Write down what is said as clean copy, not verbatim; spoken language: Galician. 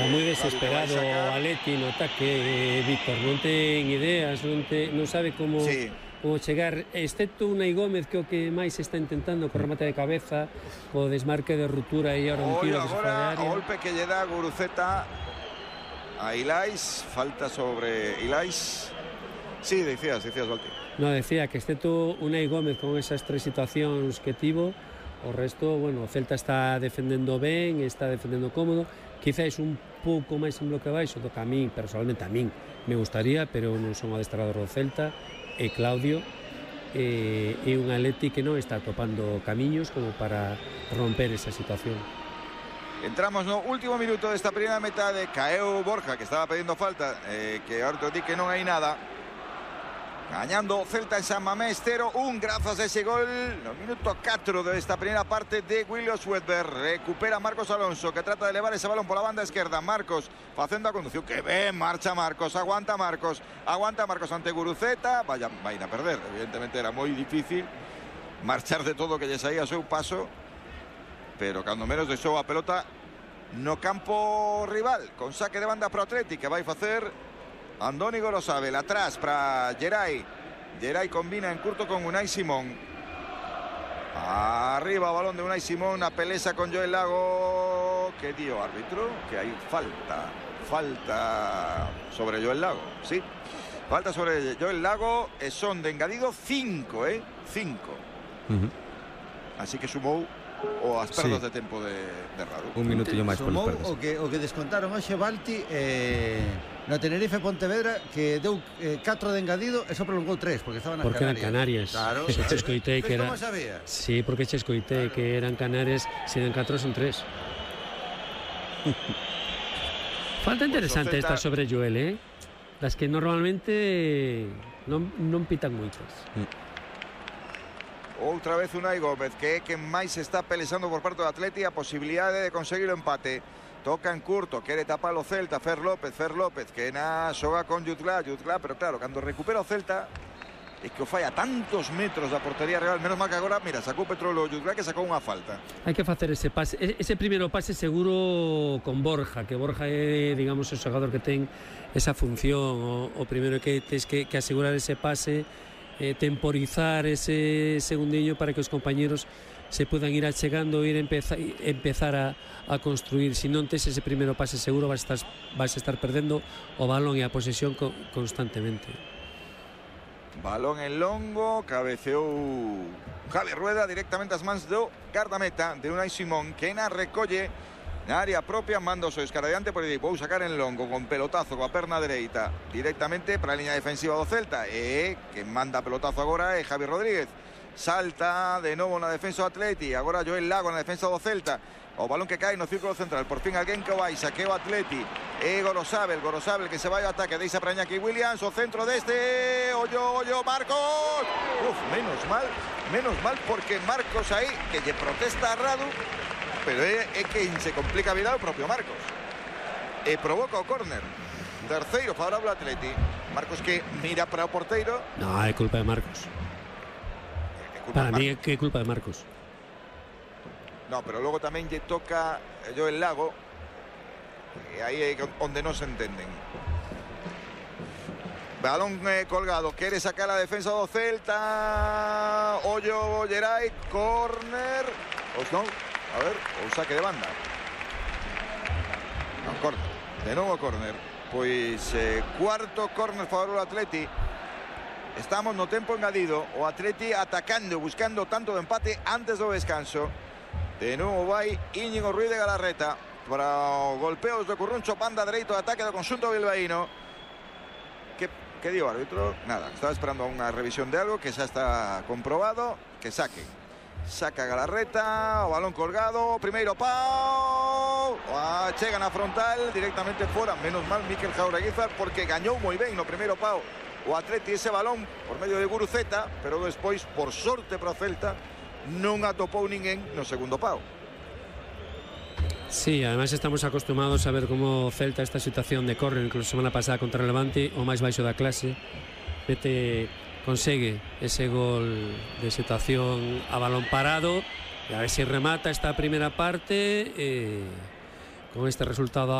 Está moi desesperado o Atleti no ataque, Víctor, non ten ideas, non sabe como chegar, excepto Unai Gómez, que é o que máis está intentando co remate de cabeza, co desmarque de ruptura e ahora un tiro que se fora de área. O golpe que lle dá Guruceta a Ilais, falta sobre Ilais. Sí, decías, Valti. No, decía que excepto Unai Gómez con esas tres situacións que tivo, o resto, bueno, o Celta está defendendo ben, está defendendo cómodo, quizás un pouco máis en bloque baixo do que a min, personalmente a min me gustaría, pero non son o adestrador do Celta, e Claudio e un Atleti que non está topando camiños como para romper esa situación. Entramos no último minuto desta primeira metade. Caeu Borja, que estaba pedindo falta, que ahora di que non hai nada. Gañando Celta en San Mamés 0-1 grazas a ese gol no minuto 4 desta primeira parte de William Swedberg. Recupera Marcos Alonso, que trata de elevar ese balón pola banda esquerda. Marcos facendo a conducción, que ben marcha Marcos, aguanta Marcos ante Guruceta. Vai a perder, evidentemente era moi difícil marchar de todo que lle saía ao seu paso, pero cando menos deixou a pelota no campo rival, con saque de banda pro Atleti, que vai facer Andoni Gorosabel. Atrás para Geray. Geray combina en curto con Unai Simón. Arriba balón de Unai Simón, a pelesa con Joel Lago. ¿Qué dio árbitro? Que hay falta sobre Joel Lago. Sí, falta sobre Joel Lago. Son de engadido 5, 5. Así que sumou o as perdas de tempo de Radu. Un minutillo máis polas perdas. O que descontaron hoxe Balti no Tenerife Pontevedra, que deu 4 de engadido e só prolongou 3 porque estaban porque eran Canarias. Claro. Che escoitei que era. Como sabía? Sí, porque che escoitei que eran Canarias, se den 4 son 3. Falta interesante esta sobre Joel, las que normalmente non pitan moitas. Outra vez Unai Gómez, que é quen máis está pelexando por parte do Atleti a posibilidade de conseguir o empate. Toca en curto, quere tapar o Celta. Fer López, que xoga con Jutla, pero claro, cando recupera o Celta é que o fai a tantos metros da portería real. Menos mal que agora, mira, sacou Petrolo Jutla, que sacou unha falta. Hai que facer ese pase, ese primeiro pase seguro con Borja, que Borja é, digamos, o xogador que ten esa función. O primeiro que tens que asegurar ese pase, temporizar ese segundiño para que os compañeros se puedan ir achegando, empezar a construir. Si non tes ese primeiro pase seguro, vas a estar perdendo o balón e a posesión constantemente. Balón en longo, cabeceou Javi Rueda directamente ás mans do guardameta de Unai Simón, que na recolle na área propia, manda o seu escaradiante por aí. Vou sacar en longo con pelotazo coa perna dereita directamente para a liña defensiva do Celta, e que manda pelotazo agora é Javi Rodríguez. Salta de novo na defensa do Atleti, agora Joel Lago na defensa do Celta. O balón que cae no círculo central, por fin alguén que o vai, saqueo Atleti. E Gorosabel que se vai ao ataque, deixa para Iñaki Williams, o centro deste, ollo, Marcos. Menos mal, porque Marcos aí, que lle protesta a Radu, pero é que se complica a vida o propio Marcos. E provoca o córner. Terceiro favorable ao Atleti. Marcos que mira para o porteiro. No, é culpa de Marcos. Para mí é que é culpa de Marcos. No, pero logo tamén lle toca Joel Lago, e aí é onde non se entenden. Balón colgado, quere sacar a defensa do Celta. Ollo Geray, córner. Non, a ver, o saque de banda. Non, córner. De novo córner. Pois cuarto córner favorable ao Atleti. Estamos no tempo engadido, o Atleti atacando, buscando tanto de empate antes do descanso. De novo vai Íñigo Ruiz de Galarreta para o golpeos do Curruncho, banda dereito de ataque do conxunto bilbaíno. Que dio o árbitro? Nada, estaba esperando unha revisión de algo que xa está comprobado. Que saque. Saca Galarreta, o balón colgado, primeiro pau. Chega na frontal, directamente fora. Menos mal Mikel Jaureguizar, porque gañou moi ben no primeiro pau o Atleti ese balón por medio de Guruceta, pero despois, por sorte para o Celta, non atopou ninguén no segundo pau. Sí, además estamos acostumados a ver como Celta esta situación de córner, incluso semana pasada contra Levante, o máis baixo da clase, consegue ese gol de situación a balón parado, e a ver se remata esta primeira parte con este resultado